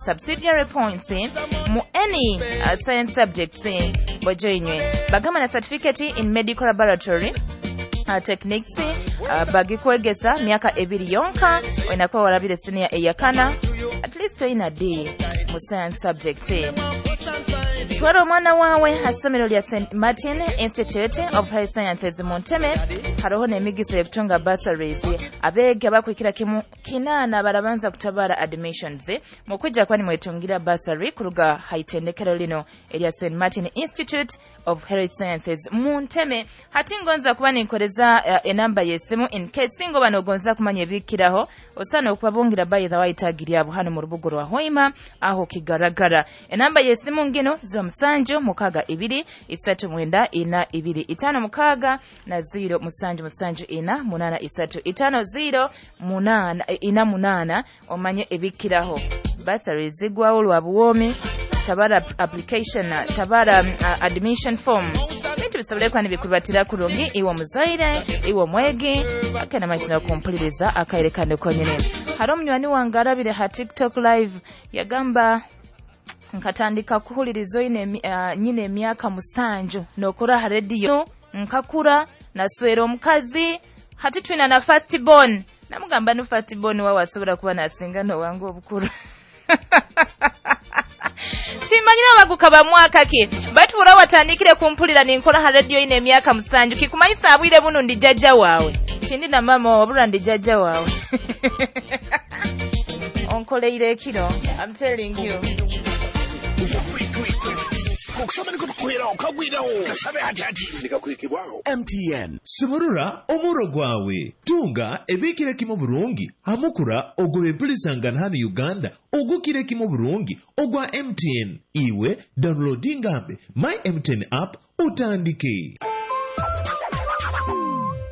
Subsidiary points mu any science subjects bojoinywe bagamba na certificate in medical laboratory techniques bagikwegesa myaka 2 yonka oinakuwa warabire senior eyakana at least oina D mu science subject. Twara omwana wawe asomero lya St Martin Institute of Health Sciences mu Ntebe haroho n'emigisa y'okutunga bursaries abeega bakwikira kimu 8 barabanza kutabara admissions mukujja kwani mwetungira bursary kuruga haitendekero lino erya St Martin Institute of Health Sciences mu Ntebe. Hati ngonza kuba ninkoreza enamba y'esimu in case ngo banogonza kumanya ebikiraho osana okubabungira by the way tagiri abo hano mu rubugo rwa Hoima aho kigaragara. Enamba y'esimu ngino 07 6 2 3 9 4 2 5 6 na 0 7 7 4 8 3 5 0 8 4 8 omanye ebikiraho. Basari zigwawo lwa buwomi tabara application tabara admission form bintu bisobole kwani bikubatira kurungi iwo muzaire iwo mwegi akana mazina kumpuliriza akayerekane konyene. Hari omunywani wange arabire ha TikTok live yagamba nkatandika kuhuliriza ine nyine emyaka 7 nokora ha radio nkakura naswera omukazi hati twina na first born namugamba no first born wawe asobora kuba nasinga no wangu obukuru. Simanyira baguka ba mwaka ki batubura watandikire kumpulira ninkora ha radio ine emyaka 7 kikumanyisa abwire buno ndi jajja wawe kindi na mama wabura ndi jajja wawe onkoleire ekiro. I'm telling you. MTN sumurura omuro gwawe tunga ebikire kimu burungi hamukura ogw'empulisangana hano Uganda ogukire kimu burungi ogwa MTN iwe downloadingambe my MTN app utandike.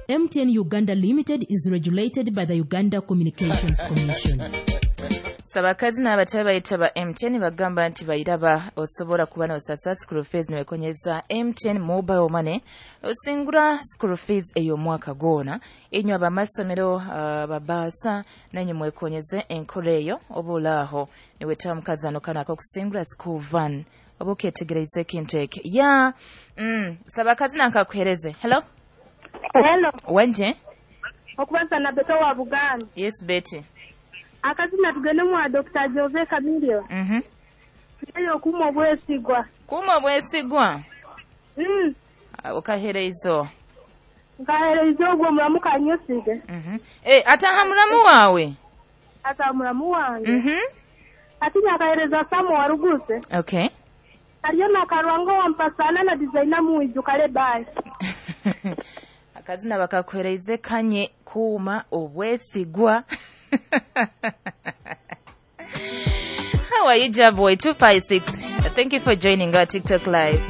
MTN Uganda Limited is regulated by the Uganda Communications Commission. Sabakazi n'abatebe bayita ba MTN bagamba nti bayiraba osobola kuba n'osasula school fees niwekonyeza MTN mobile money osingura school fees ey'omwaka gwona inywe abamasomero babaasa nanyu mwekonyeze enkola eyo oba olaaho niwetaba mukazano kano ak'okusingura school van oba oketegereza ekintu ekyo ya sabakazi nankakuhereze. Hello. Hello. Wenje okubanza na Betty wa Buganda. Yes Betty. Akazina tugende mwa Dr. Jose Kamilio. Eyo kuma obwesigwa. Kuma obwesigwa. Okahereizo. Nkahereizo ogwo mulamu kanyosige. Ataha mulamu wawe. Ata mulamu wange. Ati nakahereza Samu waruguse. Okay. Aliyo nakarwango wampasana na designer muiju kale bye. Akazina bakakuhereize kanye kuma obwesigwa. How are you, Jaboy 256? Thank you for joining our TikTok live.